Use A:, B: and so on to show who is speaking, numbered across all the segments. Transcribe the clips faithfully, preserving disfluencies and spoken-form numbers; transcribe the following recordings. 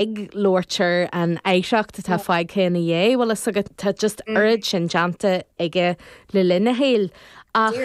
A: Ag labhairt ar an oidhreacht atá fágtha ina dhiaidh, bhfuil fhios agat tá just oiread sin déanta aige le linn a shaoil. Ach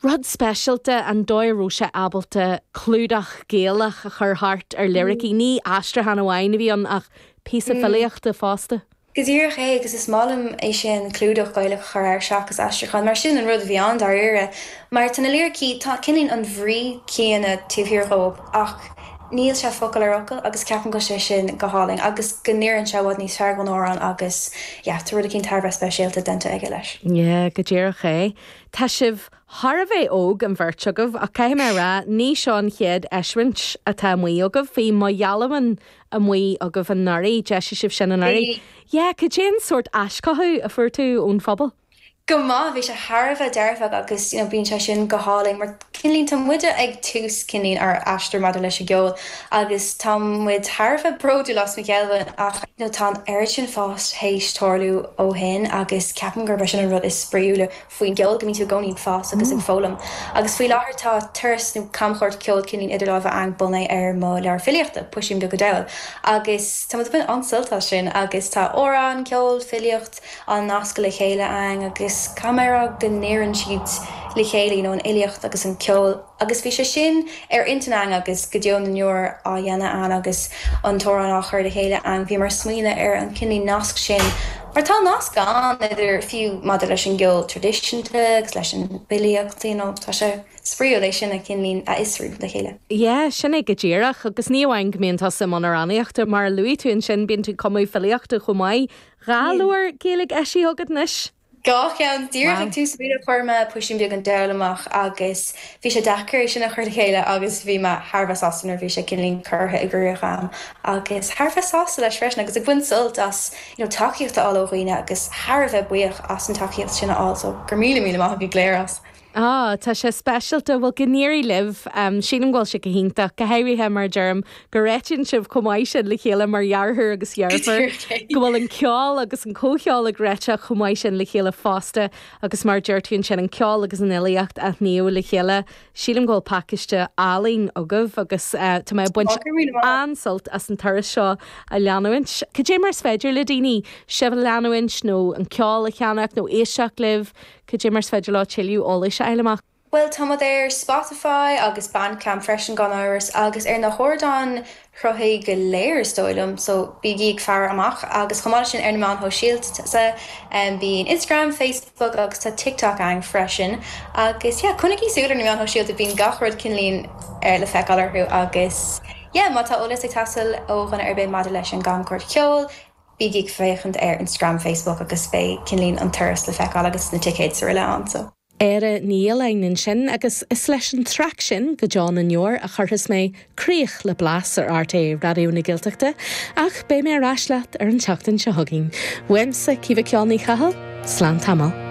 A: rud speisialta an dóigh a raibh sé ábalta clúdach Gaelach a chur thart ar liricí ní aistriúchán amháin a bhí ann ach píosa filíochta fosta.
B: Go díreach é agus is maith liom é sin clúdach Gaelach a chur air seachas aistriúchán, mar sin an rud a bhí ann dáiríre. Mar tá na liricí tá cineál an bhrí céanna taobh thiar dhóibh ach níl sé focal ar fhocal agus ceapaim go sé sin go hálainn agus go n-oireann sé i bhfad níos fearr don amhrán agus yeah, tá rud éicint thar a bheith speisialta déanta aige leis.
A: Yeah, go díreach é. Tá sibh thar a bheith óg an bheirt agaibh ach caithfidh mé rá ní seo an chéad eisiúint atá amuigh agaibh bhí Mo Ghealbhain amuigh agaibh anuraidh d'eisigh sibh sin anuraidh. Yeah, cad é an sórt aischothú a fuair tú ón phobal.
B: Go maith bhí sé thar a bheith dearfach agus you know, bíonn sé sin go hálainn mar cineál tá muide ag tús cineál ár aistear maidir leis an gceol agus tá muid thar a bheith bródúil as Mo Ghealbhain ach you know, tá an oiread sin fás théis tarlú ó shin agus ceapaim gurb é sin an rud is spraíúla faoin gceol go mbíonn tú i gcónaí ag fás agus ag foghlaim. Agus faoi láthair tá turas nó camchuairt ceol cineál idir lámha agam bunaithe ar mo leabhar filíochta Puisín Beag an Diabhail. Agus tá ag baint an-sult as sin agus tá amhrán ceol filíocht á nascadh le chéile agam agus caithfidh mé go n-oireann siad le chéile you know, an fhilíocht agus an ceol agus bhí sé sin ar intinn agam agus go deo na ndeor á dhéanamh agam agus an t-amhrán á chur le chéile agam bhí mar smaoineamh ar an cineál nasc sin mar tá nasc ann idir fiú maidir leis an gceol traidisiúnta agus leis an bhfilíocht you know, tá sé spraíúil é sin a cineál a fhiosrú le chéile.
A: Yeah, sin é go díreach agus ní amháin go mbíonn tusa i mbun amhránaíochta mar a luaigh tú ansin bíonn tú ag cumadh filíochta chomh maith. Dhá leabhar Gaeilge eisithe agat anois.
B: Dhá cheann díreach ag tús mí chuir mé Puisín Beag an Diabhail amach agus bhí sé deacair é sin a chur le chéile agus bhí mé thar a bheith sásta nuair bhí sé cineál curtha i gcrích agam agus thar a bheith sásta leis freisin agus ag baint sult as you know, tacaíocht a fháil ó dhaoine agus thar a bheith buíoch as an tacaíocht sin a fháil so gur míle míle maith go léir as.
A: Á tá sé speisialta bhfuil go n-éirí libh um, sílim go bhfuil sé go hiontach go háirithe mar deirim go réitíonn sibh chomh maith sin le chéile mar dheartháir agus deirfiúr go bhfuil an ceol agus an comhcheol ag réiteach chomh maith sin le chéile fosta agus mar deir tú sin an ceol agus an fhilíocht a shníomh le chéile. Sílim go bhfuil pacáiste álainn agaibh agus uh, tá mé ag baint an-sult as an turas seo a leanúint. Cad é mar is féidir le daoine sibh a leanúint nó an ceol a cheannach nó éisteacht libh, cad é mar is féidir leo tuilleadh eolais a fháil amach.
B: Well tá ar Spotify agus Bandcamp freisin gan amhras agus ar na hardáin sruthaithe go léir is dóigh liom, so bígí ag faire amach agus chomh maith sin ar na meáin shóisialta um, bíonn Instagram, Facebook agus tá TikTok againn freisin agus yeah, coinnigí súil ar na meáin shóisialta bíonn gach rud cineál ar le feiceáil orthu agus yeah, má tá eolas ag teastáil ó dhuine ar bith maidir leis an gcamchuairt ceoil, bígí ag féachaint ar Instagram, Facebook agus beidh cineál an turas le feiceáil agus na ticéid sa rile ann so.
A: Éire Ní Fhaoláin ansin agus is leis an traic sin go deo na ndeor a chuirfeas mé críoch le Blas ar RTÉ Raidió na Gaeltachta ach beidh mé ar ais leat ar an tseachtain seo chugainn. Uaimse Caoimhe Ceol Ní Chathail, slán tamall.